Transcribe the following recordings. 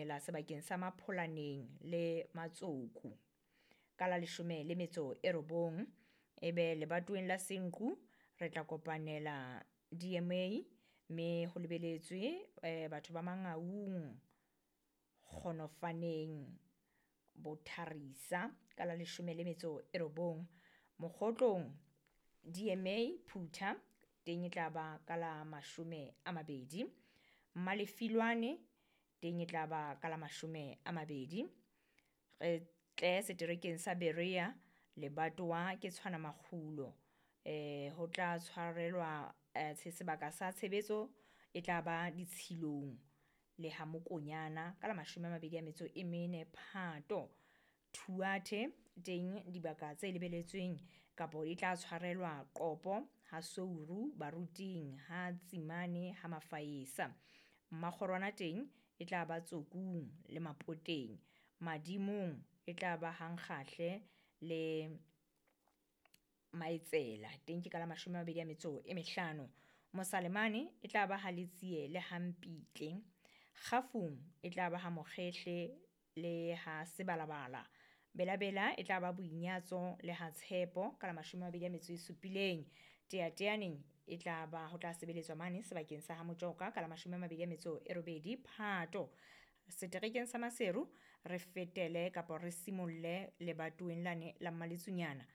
kopanela sebakeng sa Mapholaneng le Matsoku ka la 19. Ebe lebatoweng la Senqu re tla kopanela DMA mme ho lebeletswe batho ba Mangaung, Kgonofaneng, Botharisa ka la 19. Mokgotlong DMA Phutha teng e tla ba ka la 20. Mmalefilwane teng e tla ba ka la 20. Re tle seterekeng sa Berea lebatowa ke tshwana makgulo. Ho tla tshwarelwa sebaka sa tshebetso e tla ba ditshilong le ha Mokonyana ka la 24 Phato. Thuathe teng dibaka tse lebeletsweng kapo e tla tshwarelwa Qopo ha Souru Baruting ha Tsimane ha Mafaesa. Mmakgorwana teng e tla ba Tsokung le Mapoteng. Madimong e tla ba Hankgahle le Maetsela teng ke ka la 25. Mosalemane e tla ba ha Letsie le ha Mpitle. Kgafung e tla ba ha Mokgehle le ha Sebalabala. Belabela e tla ba Boinyatso le ha Tshepo ka la 27. Teateaneng e tla ba ho tla sebeletswa mane sebakeng sa ha Motjoka ka la 28 Phato. Seterekeng sa Maseru re fetele kapa re simolle lebatoweng lane la Mmaletsunyana.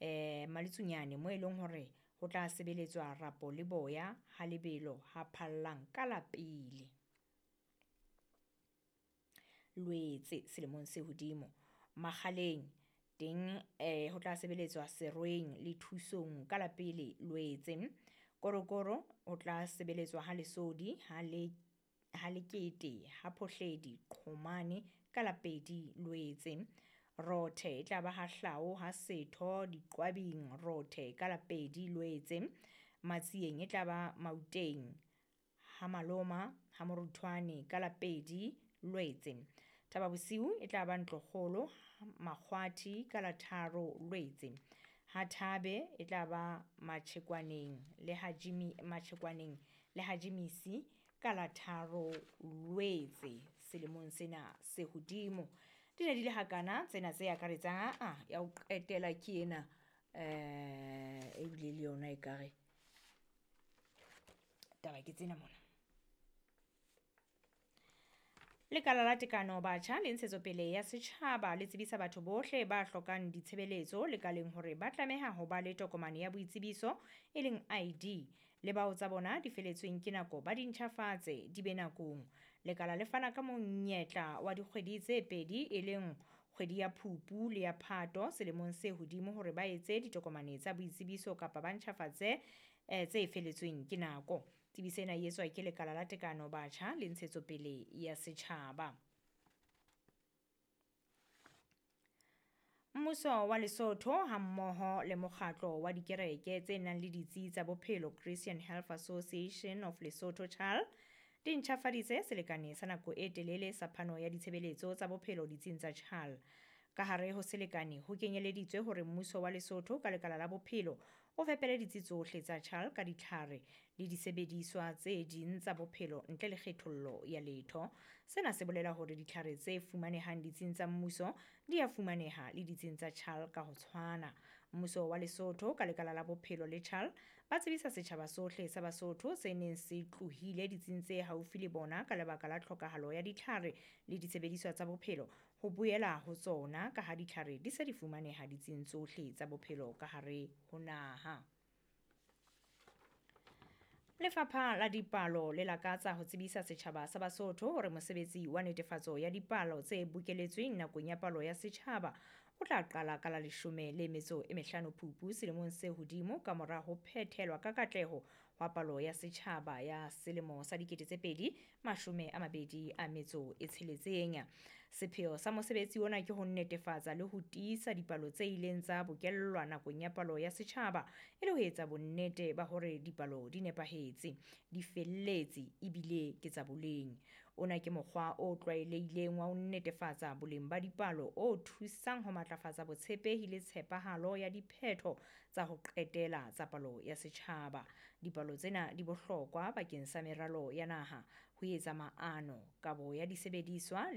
Mmaletsunyane mo e leng hore ho tla sebeletswa Rapo le Boya ha Lebelo ha Phallang ka la 1 Lwetse selemong se hodimo. Makgaleng teng ho tla sebeletswa Serweng le Thusong ka la 1 Lwetse. Korokoro ho tla sebeletswa ha Lesodi ha Lekete ha Phohledi Qhomane ka la 2 Lwetse. Rothe e tla ba ha Hlao ha Setho Diqwabing Rothe ka la 2 Lwetse. Matsieng e tla ba Mauteng ha Maloma ha Moruthwane ka la 2 Lwetse. Thaba Bosiu e tla ba Ntlokgolo Makgwathi ka la 3 Lwetse. Ha Thabe e tla ba Matjhekwaneng le ha Jimmy Matjhekwaneng le ha Jimisi ka la 3 Lwetse selemong sena se hodimo. Di ne di le hakana tsena tse akaretsang ya ho qetela ke ena ebile le yona ekare taba ke tsena mona. Lekala la Tekano Batjha le Ntshetsopele ya Setjhaba le tsebisa batho bohle ba hlokang ditshebeletso lekaleng hore ba tlameha ho ba le tokomane ya boitsebiso e leng ID le bao tsa bona di feletsweng ke nako ba di ntjhafatse di be nakong. Lekala le fana ka monyetla wa dikgwedi tse 2 e leng kgwedi ya Phupu le ya Phato selemong se hodimo hore ba etse ditokomane tsa boitsebiso kapa ba ntjhafatse tse feletsweng ke nako. Tsebiso ena e etswa ke Lekala la Tekano Batjha le Ntshetsopele ya Setjhaba. Mmuso wa Lesotho hammoho le mokgatlo wa dikereke tse nang le ditsi tsa bophelo Christian Health Association of Lesotho CHAL di ntjhafaditse selekane sa nako e telele sa phano ya ditshebeletso tsa bophelo ditsing tsa CHAL. Ka hare ho selekane ho kenyeleditswe hore mmuso wa Lesotho ka lekala la bophelo o fepele ditsi tsohle tsa CHAL ka ditlhare le disebediswa tse ding tsa bophelo ntle le kgethollo ya letho. Sena se bolela hore ditlhare tse fumanehang ditsing tsa mmuso di a fumaneha le ditsing tsa CHAL ka ho tshwana. Mmuso wa Lesotho ka lekala la bophelo le CHAL ba tsebisa setjhaba sohle sa Basotho se neng se tlohile ditsing tse haufi le bona ka lebaka la tlhokahalo ya ditlhare le disebediswa tsa bophelo ho boela ho tsona ka ha ditlhare di se di fumaneha ditsing tsohle tsa bophelo ka hare ho naha. Lefapha la Dipalo le lakatsa ho tsebisa setjhaba sa Basotho hore mosebetsi wa netefatso ya dipalo tse bokeletsweng nakong ya palo ya setjhaba o tla qala ka la 15 Phupu selemong se hodimo ka mora ho phethelwa ka katleho hwa palo ya setjhaba ya selemo sa 2026. Sepheo sa mosebetsi ona ke ho netefatsa le ho tiisa dipalo tse ileng tsa bokellwa nakong ya palo ya setjhaba e le ho etsa bonnete ba hore dipalo di nepahetse, di felletse ebile ke tsa boleng. Ona ke mokgwa o tlwaelehileng wa ho netefatsa boleng ba dipalo o thusang ho matlafatsa botshepehi le tshepahalo ya diphetho tsa ho qetela tsa palo ya setjhaba. Dipalo tsena di bohlokwa bakeng sa meralo ya naha, ho etsa maano, kabo ya disebediswa le